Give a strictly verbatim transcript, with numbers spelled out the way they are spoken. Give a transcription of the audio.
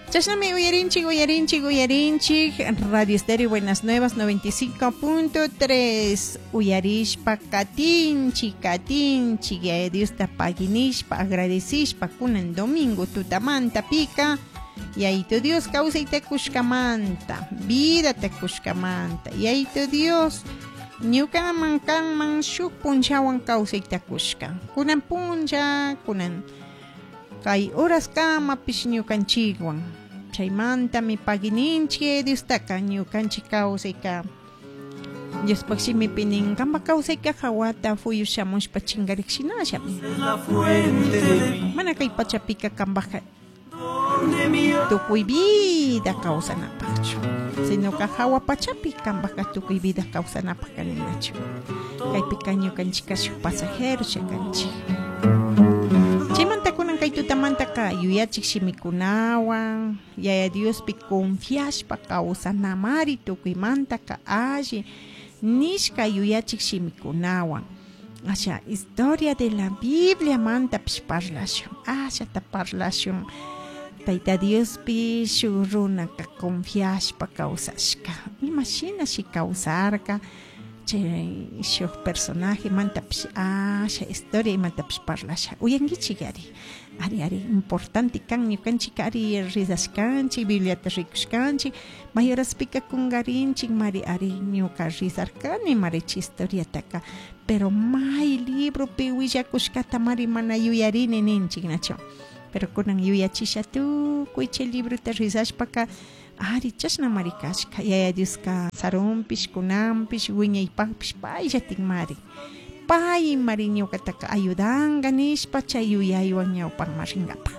Chashnami uyarinchik, uyarinchik, uyarinchik Radio Estéreo Buenas Nuevas noventa y cinco punto tres. Uyarishpa katinchik, katinchik, Yaya Diosta paginishpa, agradecishpa kunan domingo tutamanta pika Yayito Dios kawsayta kushkamanta, vidata kushkamanta. Yayito Dios ñukaman, kanman shuk punchawan kawsayta kushka. Kunan puncha, kunan kay horas kamapish ñukanchikwan. Chaymantami pagininchik Diostaka. Ñukanchik kawsayka, Diospaj shimipi nin, kanpak kawsayka jawata fuyu shamushpa chingarik shinallami. Mana kay pachapika kanpajka tukuy vida kawsanapaqchu, sino ka hawa pachapi kanpajka tukuy vida kawsanapaq kaninachu. Kaypika ñukanchika shuk pasajero kanchik. Chaymanta kunan kay tutamantaka yuyachik shimikunawan Yaya Diospi confiashpa kawsanamari tukuymantaka alli nishka yuyachik shimikunawan asha historia de la Biblia mantapish parlashun, ashata parlashun. Tayta Diospi shuk runaka confiashpa kawsashka, imashinashi kawsarka, chay shuk personaje mantapish asha historia imantapish parlasha. Uyankichik ari, ari, ari, importante kan. Ñukanchik ari rizashkanchik, Bibliata rikushkanchik, mayoraspika kungarinchik mari. Ari, ñuka rizarkani mari chay historiataka, pero may libropi willakushkata mari mana yuyarini ninchik, nachu? Pero kunan yuyachisha tukuy chay librota rizashpaka, ari, chashna mari kashka. Yaya Dioska sarunpish, kunanpish, wiñaypakpish payllatin mari, pay mari ñukataka ayudanga nishpa chay yuyaywan ñawpanman rinkapak.